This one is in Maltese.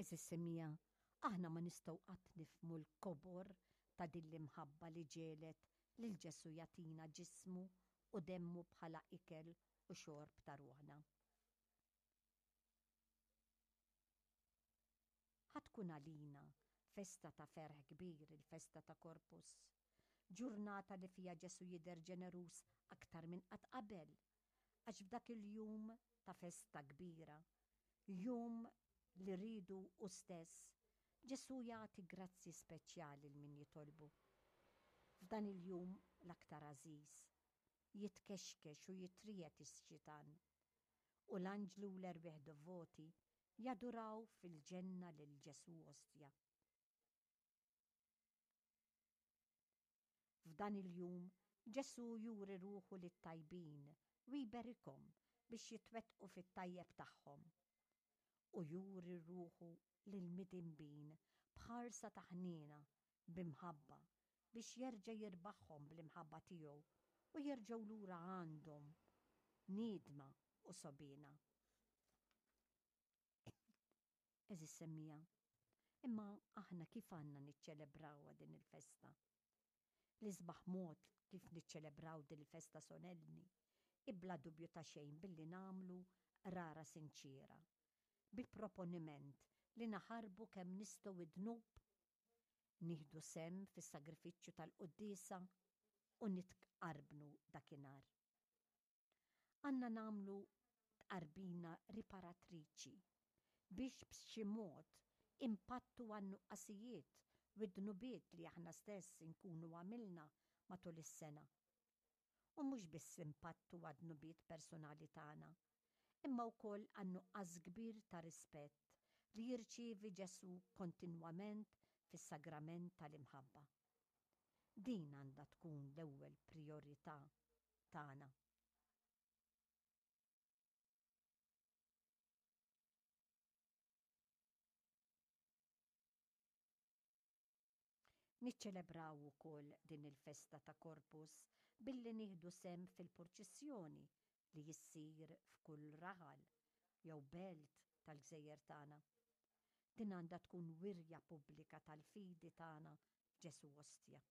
Għeżież semmiegħa, aħna ma nistgħu qatt nifhmu l-kobor ta' din l-imħabba li ġegħlet lil Ġesù jagħtina ġismu u demmu bħala ikel u xorb ta' ruħna. Ħa tkun għalina festa ta' ferħ kbir il-festa ta' Corpus, ġurnata li fiha Ġesù jidher ġeneruż aktar minn qatt qabel, għax f'dak il-jum ta' festa kbira, jum li riedu hu stess, Ġesù jagħti grazzji speċjali 'l min jitolbu. F'dan il-jum l-aktar għażiż, jitkexkex u jitriegħed ix-xitan, u l-anġli u l-erwieħ devoti jaduraw fil-ġenna lil Ġesù Ostja. F'dan il-jum, Ġesù juri ruħu lit-tajbin u jberikhom biex jitwettqu fit-tajjeb tagħhom. U juri ruħu lill-midinbin b'ħarsa ta' ħniena, b'imħabba, biex jerġa' jirbaħhom bl-imħabba tiegħu u jerġgħu lura għandhom niedma u sogħbiena. Għeżież semmiegħa, imma aħna kif għandna niċċelebrawha din il-festa? L-isbaħ mod kif niċċelebraw din il-festa solenni hi bla dubju ta' xejn billi nagħmlu qrara sinċiera, bi proponiment li naħarbu kemm nistgħu id-dnub, nieħdu sehem fis-sagrifiċċju tal-quddiesa u nitqarbnu dakinhar. Għandna nagħmlu tqarbina riparatriċi biex b'xi mod inpattu għan-nuqqasijiet u d-dnubiet li aħna stess inkunu għamilna matul is-sena. U mhux biss inpattu għad-dnubiet personali tagħna, imma wkoll għan-nuqqas kbir ta' rispett li jirċievi Ġesù kontinwament fis-sagrament tal-imħabba. Din għandha tkun l-ewwel prijorità tagħna. Niċċelebraw ukoll din il-festa ta' Corpus billi nieħdu sehem fil-purċissjoni li issir f'kull raħal jew belt tal-gżejjer tagħna. Din għandha tkun wirja pubblika tal-fidi tagħna f'Ġesù Ostja.